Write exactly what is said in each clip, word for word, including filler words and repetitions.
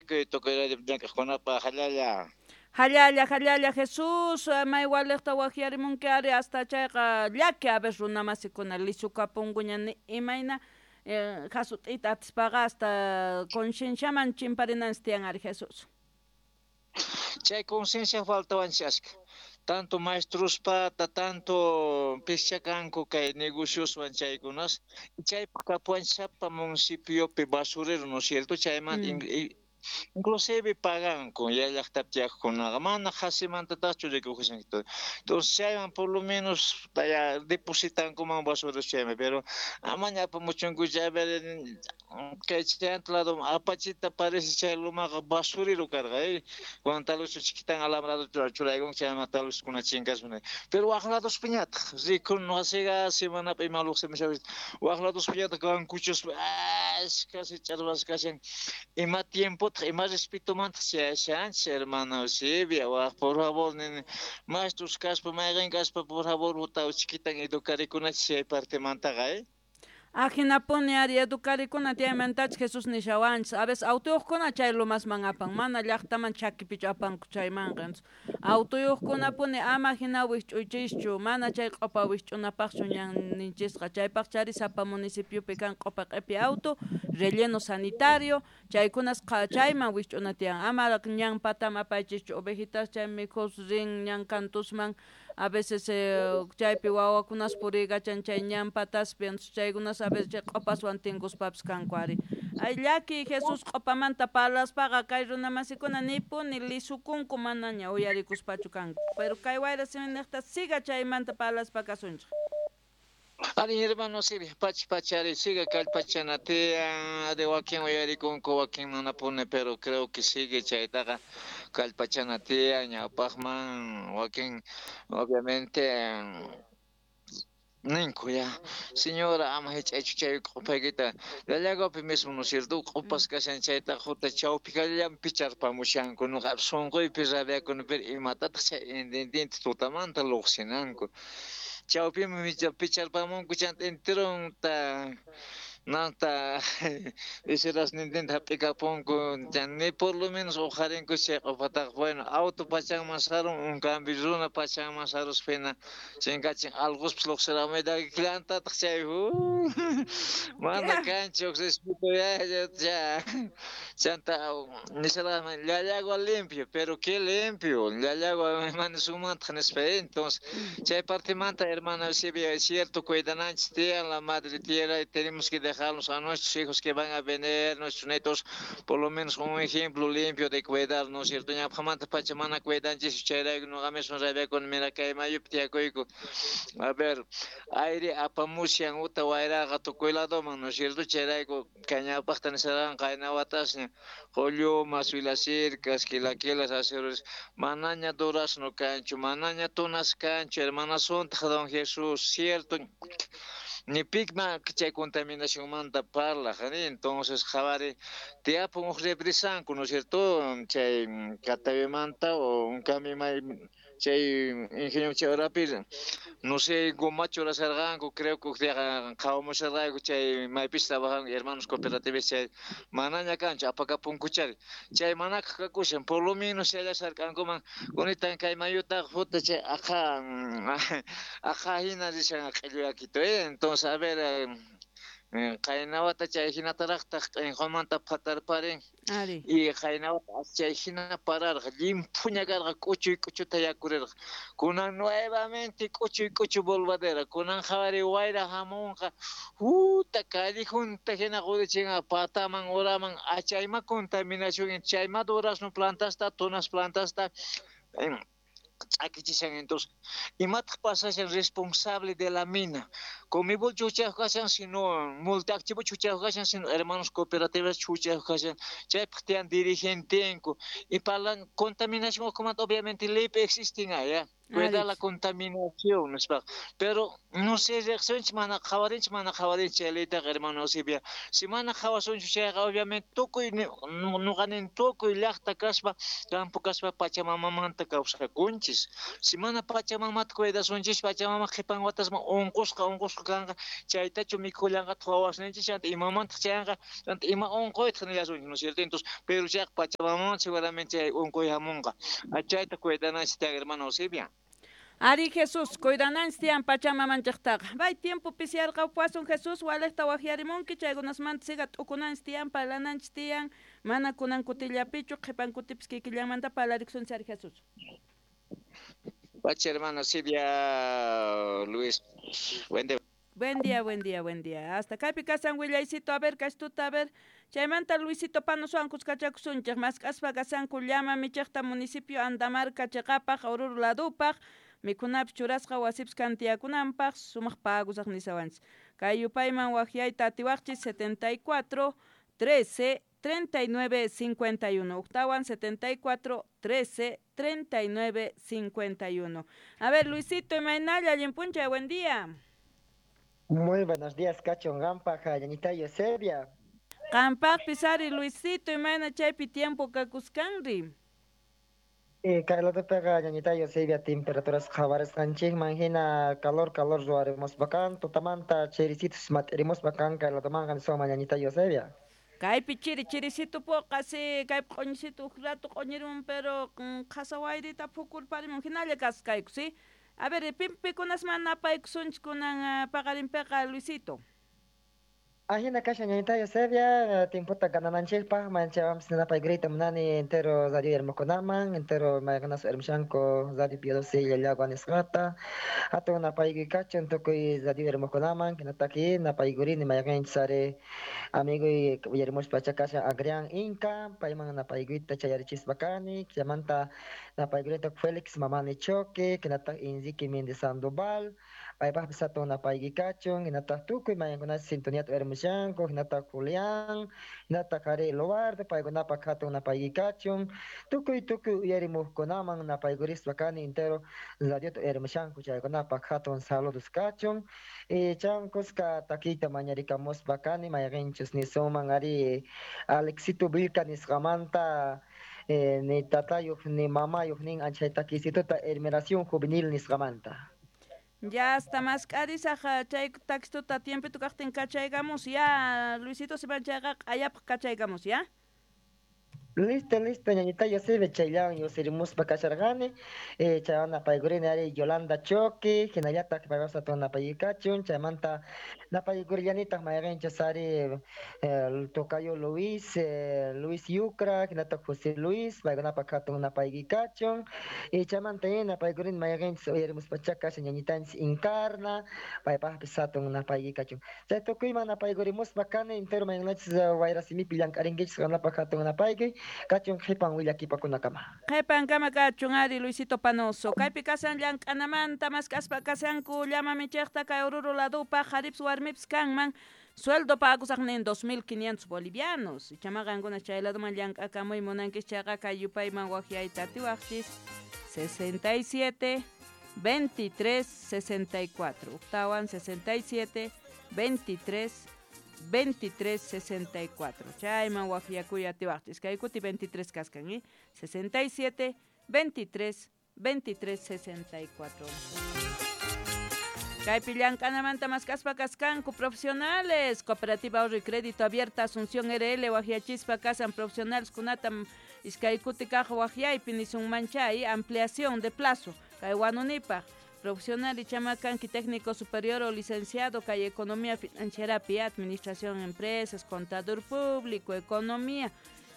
Tukuy radio llank'aqkunapaq hallalla. Hallalla, hallalla, Jesús, may waliqta waqyarimunki ari hasta chayqa llaki a ver runamasikuna lisukapunkuña ni imayna eh, hasut'ita atispaqa hasta concienciaman chimparinanchis tiyan ari Jesús. Chay conciencia faltawanchis ashka. Tanto maestruspata, tanto pischakanku kay negocioswan chaykunas, chaypaq kapuwanchis municipiopi basurero, ¿no es cierto? Chaymanta Mm. inclusive paganku ya llaqtapi tiyaqkunaqa mana qhasimantataqchu rikukushanku. Entonces chayman por lo menos ya depositankuman basureros chayman, pero amaña apamuchunku chay kay chayanta lado apachita parece chay lumaqa basurero karqa, eh. Cuando tal vez chiquitan alambrado churaykunku chayman tal vez kuna chinkaspa. Pero waq ladospiñataq rikun wasiqa semanapi ima lluqsimushawi waq ladospiñataq kankuchuspa ashka ch'arwas kashan ima tiempotaq ima respetomantaq chayashanchis hermano Silvia, waq por favor nini maestros kaspa mayqin kaspa por favor uta chiquitan educarikunachis chay partemantaqa, eh. Ajinapuni ari educarikuna tiyaymantachis Jesús nishawanchis a veces autuyuqkuna chay lumasman apan mana llaqtaman chakipichu apanku chaymanqa autuyuqkunapuni ama hina wikch'uychischu mana chay q'upa wikch'unapaqchu ñanninchisqa chaypaq chari sapa municipiopi kan q'upa q'ipi auto relleno sanitario chaykunas chayman wikch'una tiyan ama ñan pataman apaychischu ovejitas chay mikhus rin ñan kantusman a veces eh, chaypi wawakunas puriykachan chay ñan pataspi chaykunas a veces chay q'upaswan tinkuspapis kanku ari ay llaki Jesús q'upamanta parlaspaqa kay runamasikuna nipuni lisukunku manaña uyarikuspachu kanku pero kay wayra siminiqta siga chaymanta parlaspa kasunchik. Ari hermano Silvia, pachi pachari sigue kallpachana tiyan de wakin uyarikunku wakin manapuni pero creo que sigue chaytaqa kallpachana tiyan ñawpaqman wakin obviamente ninku ya señora ama hich'aychu chay q'upaykita Llallaguapi mismo no es cierto q'upas kashan chaytaqa juta chawpikallam picharpamushanku nuqa sunquypi rabiakuni pero imatataq chay intendente tutamanta lluqsinanku chawpiman picharpamunku chanta enteronta nanta iserasnintinta hap'ikapunku ni por lo menos uqharinku chay q'upataqa bueno auto pachanman sarun un cambio runa pachanman saruspa hina chinkachin allquspis lluqsiramuyta llantataq chay mana kanchu respeto ya chanta nisharqani Llallagua limpio pero qué limpio Llallagua mana sumantaq nispa entonces chay partemanta hermana Silvia es cierto cuidananchis tiyan la madre tierra y tenemos que dejarlos a nuestros hijos que van a venir, nuestros nietos, por lo menos un ejemplo limpio de cuidar, ¿no es cierto? Ñawpaqmanta pacha mana cuidanchis chayrayku nuqa mismo rabiakuni mira kay mayupi tiyakuyku a ver aire apamushan uta wayraqa tukuy ladoman, ¿no es cierto? Chayrayku kay ñawpaqta nisharqan qayna watasña qullumas, wilasirkas, quilaquilas, aceros, manaña durazno kanchu, manaña tunas kanchu, hermana suntaq don Jesús, cierto ni pikma chay contaminacionmanta parlaq, entonces qhawari tiyapun huk represanku, ¿no es cierto? Chay Catavimanta o un cambio may chay ingenio chay horapi no sé goma churasharqanku creo que qhawamusharqayku chay maypis trabajan hermanos cooperativistas chay manaña kanchu apakapunkuchari chay manakaq kakushan por lo menos challasharqankuman kunitan kay mayutaqa juta chay aqha aqha hina rishan q'illuyakito eh entonces a ver qayna wata chay hinataraqtaq q'inqumanta phatarparin y qayna wata chay hina pararqa llimphuña karqa k'uchuy k'uchuta yakurirqa kunan nuevamente k'uchuy k'uchu volvadera kunan qhawari wayra hamunqa huta callejunta hina qurichinqa pataman uraman achayma contaminación chayma durazno plantasta tunas plantasta ch'akichishan entonces imataq pasashan responsable de la mina Comibol chuchayuq kashan sino multiactivo chuchayuq kashan sino hermanos cooperativas chuchayuq kashan chaypaq tiyan dirigentenku y para la contaminación obviamente leypi existen allá. Cuida la contaminación, nispa. Pero no sé, reacciones mana qhawarinchik, mana qhawarinchik chay leytaqa, hermano Eusebia. Si mana qhawasunchu chayqa, obviamente tukuy nuqanin tukuy llaqta kaspa, campo kaspa Pachamamamanta kawsakunchis. Si mana Pachamamata cuidasunchis, Pachamama qhipan watasman unqusqa, unqusqa kanqa, chaytachu mikhullanqataq wawasninchis, chanta imamantaq chayanqa, chanta ima unquytaq nillasunchis, ¿no es cierto? Entonces, pero chayqa Pachamamaman seguramente chay unquy hamunqa. Chayta cuidananchis tiyan, hermano Eusebia. Ari Jesús, cuidananchis tiyan Pachamamanchiktaqa. Bay tiempo pisiyarqawpuwasun Jesús, walejta waqyarimunki, chaykunasmanta siga t'ukunanchis tiyan, parlananchis tiyan, mana kunan kutillapichu, qhipan kutipis kikillanmanta parlarikusunchis ari Jesús. Pacha, hermano Silvia, Luis, buen día. Buen día, buen día, buen día. Hasta kaypi kasan willaycito, a ver, kashtuta, a ver. Chaymanta Luisito Panosuan kuskachakusunchik, mask'aspa kasanku llama michiqta municipio Andamarca chiqapaq, Oruro ladupaq, mikhunapis churasqa wasipis kantiyakunanpaq, sumaq pagusaq nisawanchis. Kay yupayman waqyayta atiwaqchis setenta y cuatro, trece, treinta y nueve, cincuenta y uno. Octawan setenta y cuatro, trece, treinta y nueve, cincuenta y uno. A ver, Luisito, imaynalla, allinpuncha, buen día. Muy buenos días, Cacho Gampa, Ñañita Eusebia. Qampaqpis ari, Luisito, imayna chaypi tiempo kakuskanri. Eh, kay Ñañita Eusebia, temperaturas qhawarisqanchikman hina calor, calor ruwarimuspakan, tutamanta chirisitos mat'irimuspakan, kay latumanqa niswanman Ñañita Eusebia. Kaypi chiri, chirisito poqa, si, kaypi q'uñisito uj rato q'uñirimun, pero qhasa wayrita phukurparimun, hinalla kaskayku, si. A ver, pimpikunasman napaykusunchik kunan paqarinpiqa, Luisito. Ajina kasha Ñañita Eusebia, tiempota ganananchikpaq, manchawanpis napaykuriyta munani entero radio hermokunaman, entero mayqinasu hermoshanku radio Pío doce Llallagua nisqata, hatun napaykuy kachun tukuy radio hermokunaman, hinataqi napaykurini mayqinchis ari amiguy uyarimuspa kashan Adrián Inca, payman napaykuyta chayarichispa kani, chaymanta napaykurita Félix Mamani Choque, hinataq Enrique Méndez Sandoval, paypaqpis hatun napaykuy kachun, hinataq tukuy mayqinkunash sintoniata uyarimushanku, hinataq Julián, hinataq ari Lobardo, paykunapaq hatun napaykuy kachun, tukuy tukuy uyarimuqkunaman napaykurispa kani entero radiota uyarimushanku chaykunapaq hatun saludos kachun, y chan kuska takiyta mañarikamuspa kani mayqinchus nisunman ari Alexito Vilca nisqamanta, eh, ni tatayuq ni mamayuq nin anchay takisituta Hermeración Juvenil nisqamanta. Ya hasta más k'arisaq chay takistuta tiempito kaqtin kachaykamus ya, Luisito, siman chayqa q'ayapaq kachaykamus ya. Listo, listo, Ñañita Eusebia, chayllawan yusirimuspa kasharqani, eh, chaywan napaykurini ari Yolanda Choque, hinallataq paypas hatun napaykachun, chaymanta napaykurillanitaq mayqinchus ari eh, tocayo Luis, eh, Luis Yucra, hinataq José Luis, paykunapaq hatun napaykachun, y chaymanta napaykurini mayqinchus uyarimuspacha kashan ñañitanchis Encarna, paypaqpis hatun napaykachun. Chay tukuyman napaykurimuspa kani entero mayqinachis wayrasimipi llank'arinkichis qanapaq hatun napaykuy. Kachun qhipan willakipakunakama. Qhipankama kachun ari Luisito Panoso. Kaypi kasan llank'anamanta mask'aspa kasanku llama michiqta kay Oruro ladupaq qharipis warmipis kanman. Sueldo pagusaqnin dos mil quinientos bolivianos. Ichama qankuna chay laduman llank'akamuy munankis chayqa kay yupayman waqyayta atiwaqchis sesenta y siete, veintitrés, sesenta y cuatro. Octawan sesenta y siete, veintitrés, veintitrés, sesenta y cuatro. Chayman waqyakuy atiwaqchis. Kay kuti veintitrés kaskan, ¿eh? sesenta y siete, veintitrés, veintitrés, sesenta y cuatro. Kaypi llank'anamanta mask'aspa kaskanku profesionales. Cooperativa Ahorro y Crédito Abierta Asunción R L waqyachispa kasan profesionales kunatam iskay kuti kaq waqyaypi nisunman chay ampliación de plazo. Kay wanunipaq. Profesional y chamakanki técnico superior o licenciado kay economía financiera, administración empresas, contador público, economía,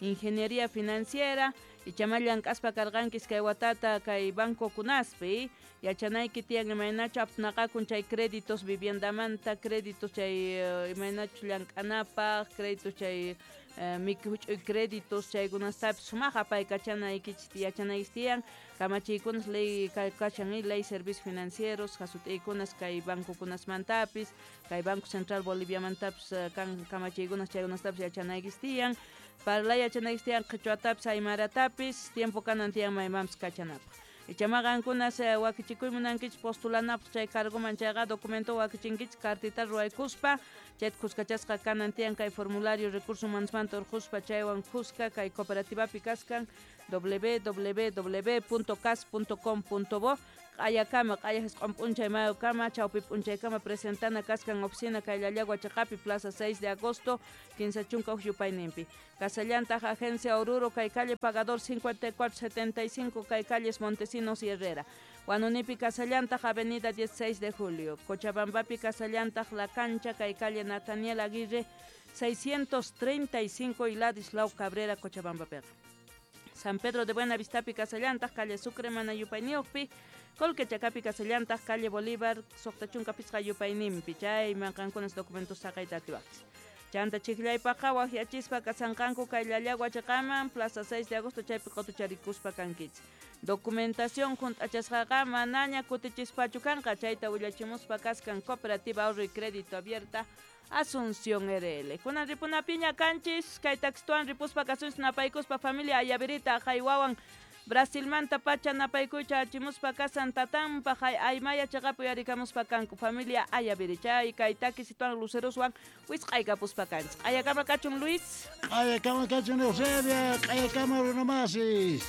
ingeniería financiera y chamallank'aspa karqankis kay watata kay banco kunaspi yachanayki tiyan imaynachu apnaqakun chay créditos viviendamanta, créditos chay imaynachu llank'anapaq, créditos chay mikhuch'uy créditos chaykunastapis sumaq apaykachanaykichis yachanaykichis tiyan kamachiykunas ley kashan ley servicios financieros hasut'iykunas kay bancokunasmantapis kay Banco Central Boliviamantapis kan kamachiykunas chaykunastapis yachanaykichis tiyan parlay yachanaykichis tiyan qhichwatapis aymaratapis tiempo kanan tiyan maymanpis kachanapaq. Ichama qankuna wakichikuy munankichik postulanapaq chay cargoman chayqa documento wakichinkichik cartita ruwaykuspa chayta kuskachasqa kanan tiyan kay formulario recurso humanosmanta urquspa chaywan kuska kay cooperativapi kaskan w w w punto cas punto com punto bo q'ayakama q'aya jisq'on p'unchay mayukama chawpi p'unchaykama presentana kaskan oficina kay Llallagua chaqapi plaza seis de agosto kinsa chunka huk yupayninpi Casallantaq agencia Oruro kay calle Pagador cincuenta y cuatro setenta y cinco kay calles Montesinos y Herrera Huanunipi Casallantaq avenida dieciséis de julio Cochabambapi Casallantaq La Cancha kay calle Nataniel Aguirre seiscientos treinta y cinco y Ladislao Cabrera Cochabambapiqa San Pedro de Buenavistapi Casallantaq calle Sucre mana yupayniyuqpi Colquechacapi Casallantaq calle Bolívar suqta chunka pisqa yupayninpi chayman qankunas documentos saqayta atiwaqchis Chanta chiklaypaqa waqyachispa kasanqanku kay Llallagua chaqaman plaza seis de agosto chaypi qutucharikuspa kankichis Documentación junt'achasqaqa manaña kutichispachu kanqa chayta willachimuspa kaskan Cooperativa Ahorro y Crédito Abierta Asunción R L. Kunan ripunapiña kanchis kay taxtuan ripuspa kasunchis napaykuspa familia Ayavirita haywawan Brasilmanta pacha napaykuycha achimuspa kasan tatanpa hay aymaya chaqapi uyarikamuspa kanku familia Ayaviri chay kay takisituan luceroswan wisq'aykapuspa kanchis. Q'ayakama kachun Luis. Q'ayakama kachun Eusebia, q'ayakama runamasis.